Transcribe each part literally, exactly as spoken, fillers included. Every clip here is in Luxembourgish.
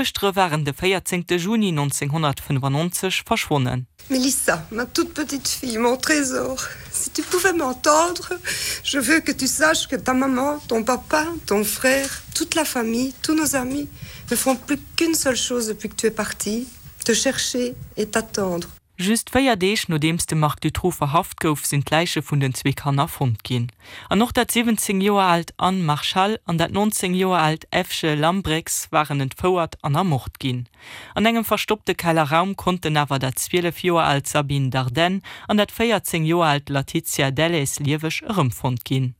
D'Duechtere waren de véierzéngte Juni nonzénghonnertfënnefannonzeg verschwonnen. Mélissa, ma toute petite fille, mon trésor, si tu pouvais m'entendre, je veux que tu saches que ta maman, ton papa, ton frère, toute la famille, tous nos amis ne font plus qu'une seule chose depuis que tu es partie, te chercher et t'attendre. Just véier Deeg nodeems de Marc Dutroux verhaft gouf, sinn d'Läiche vun den zwee Kanner fonnt ginn. An och dat siwwenzéng Joer aalt Anne Marchal an dat nonzéng Joer aalt Evje Lambrechts waren entfouert an ermort ginn. An engem verstoppte Kellerraum konnten awer dat zwielef Joer aalt Sabine Dardenne an dat véierzéng Joer aalt Laetitia Delles lieweg erëmfonnt ginn.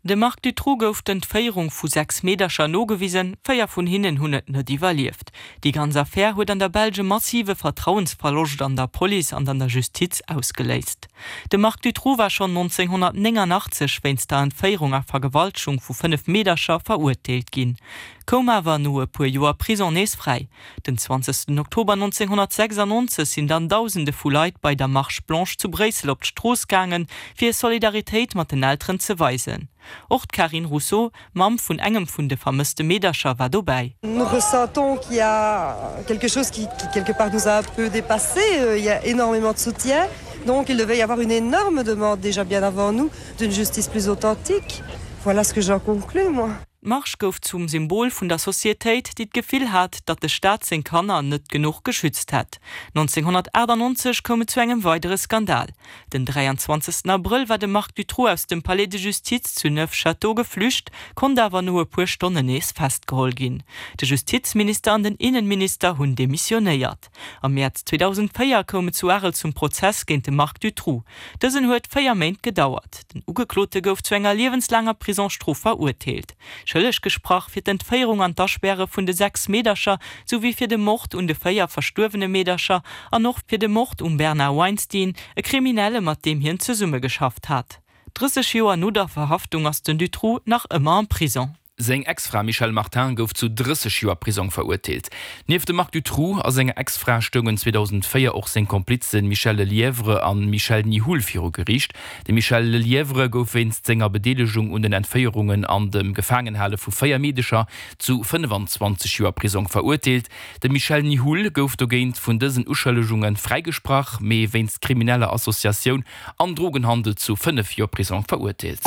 Dem Marc Dutroux gouf d'Entféierung vu sechs Meedercher nogewisen, véier vun hinnen hunn et net iwwerlieft. Déi ganz Affär huet an der Belsch e massive Vertrauensverloscht an der Police an an der Justiz ausgeléist. De Marc Dutroux war schonn nonzénghonnertnéngannachtzeg wéinst der Entféierung a Vergewaltegung vu fënnef Meedercher verurteelt ginn, koum awer no e puer Joer Prison nees fräi. Den zwanzegsten Oktober nonzénghonnertsechsannonzeg sinn dann Dausende vu Leit bei der Marche blanche zu Bréissel op d'Strooss gaangen, fir hir Solidaritéit mat den Elteren ze weisen. Och d'Carine Rousseau, Mamm vun engem vun de vermësste Meedercher, war dobäi. Nous ressentons qu'il y a quelque chose qui quelque part nous a un peu dépassés, il y a énormément de soutien, donc il devait y avoir une énorme demande déjà bien avant nous d'une justice plus authentique, voilà ce que j'en conclus moi. D'Marsch gouf zum Symbol vun der Societéit, déi d'Gefill hat, datt de Staat seng Kanner net genuch geschützt hätt. nonzénghonnertachtannonzeg koum et zu engem weidere Skandal. Den dräianzwanzegsten Abrëll war de Marc Dutroux aus dem Palais de Justice zu Neufchâteau geflücht, konnt awer no e puer Stonnen nees festgeholl ginn. De Justizminister an den Innenminister hunn demissionéiert. Am Mäerz zweedausendvéier koum et zu Arel zum Prozess géint de Marc Dutroux. Dësen huet véier Méint gedauert. Den Ugeklote gouf zu enger liewenslaanger Prisongsstrof verurteelt. Schëlleg gesprach fir d'Entféierung an d'Aspäre vun de sechs Meedercher, souwéi fir de Mord un de véier verstuerwene Meedercher an och fir de Mord um Bernard Weinstein, e Kriminelle mat deem hien zesummegeschafft hat. Drësseg Joer no der Verhaftung ass den Dutroux nach ëmmer am Prison. Seng Ex-Fra Michèle Martin gouf zu drësseg Joer Prisong verurteelt. Nieft dem Marc Dutroux a senger Ex-Fra stoungen zweedausendvéier och seng Komplizen Michel Lelièvre a Michel Nihoul viru Geriicht. De Michel Lelièvre gouf wéinst senger Bedeelegung un den Entféierungen an dem Gefaangenhale vu véier Meedecher zu fënnefanzwanzeg Joer Prisong verurteelt. De Michel Nihoul gouf dogéint vun dësen Uschëllegunge fräigesprach, mee wéinst krimineller Associatioun an Drogenhandel zu fënnef Joer Prisong verurteelt.